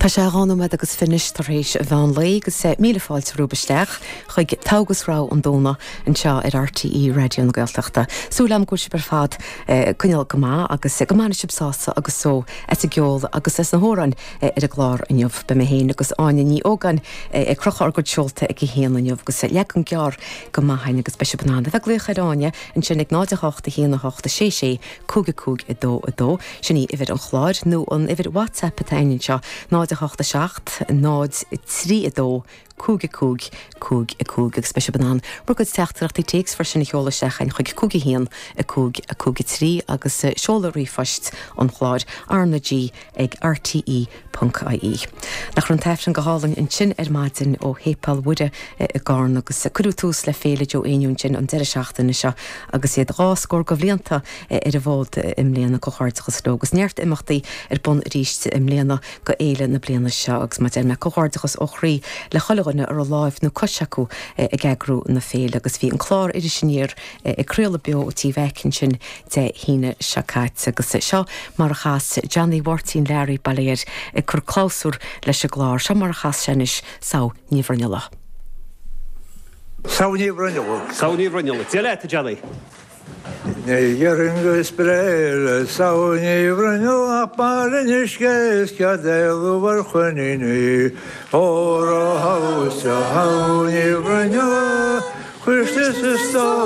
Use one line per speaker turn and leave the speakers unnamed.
Tá sé 2 nóiméad agus fiche tar éis an mheán lae agus míle fáilte romhaibh isteach chuig Togha agus Rogha an Domhnaigh anseo ar RTÉ Raidió na Gaeltachta. Súil agam go bhfuil sibh ar fad ag coinneáil go maith agus go mbainfidh sibh sásamh agus só as an gceol agus as na hamhráin ar an gclár inniu. Beidh mé féin agus Áine Ní Ógáin ag crochadh ár gcuid seolta ag a haon inniu agus leagan gearr go maith againn agus beidh sibh in ann a bheith ag glaoch ar Áine ansin ag 0 8 1 8 6 6 5 5 2 2, sin í uimhir an chláir, nó an uimhir WhatsApp atá againn anseo, 0 8 7 0 3 2 5 5 5 5, agus beidh sibh in ann bhur gcuid teachtaireachtaí téacs freisin a sheoladh isteach chugainn chuig 5 1 5 5 3 agus seoladh ríomhphoist an chláir, RnaG ag rte ponc ie. Nach raibh an tAifreann go hálainn ansin ar maidin ó Shéipéal Mhuire i gCarna agus cuireadh tús le Féile Joe Éinniú ansin an deireadh seachtaine seo agus iad dhá scór de bhlianta ar an bhfód i mbliana. Comhghairdeachas leo agus neart imeachtaí ar bun arís i mbliana go fhéile na bliana seo agus mar a deir mé comhghairdeachas ó chroí le chuile dhuine a raibh láimh nó cois acu ag eagrú na féile agus bhí an clár Iris Aniar ag craoladh beo ó Tí Mheaic ansin Dé hAoine seo caite agus seo mar a chas Johnny Mháirtín Learaí, bail ó Dhia air, ag cur clabhsúr leis an gclár. Seo mar a chas sé anois Samh Ní Bhruinnealla.
Samh Ní Bhruinnealla.
Samh Ní Bhruinnealla. Dia leat, a Johnny.
Ní dhéarfainn gur is breá le Samh Ní Bhruinnealla ach bail an uisce is cead éalú ar choiníní. Óra shamh Ní Bhruinnealla, cuirte sa stól.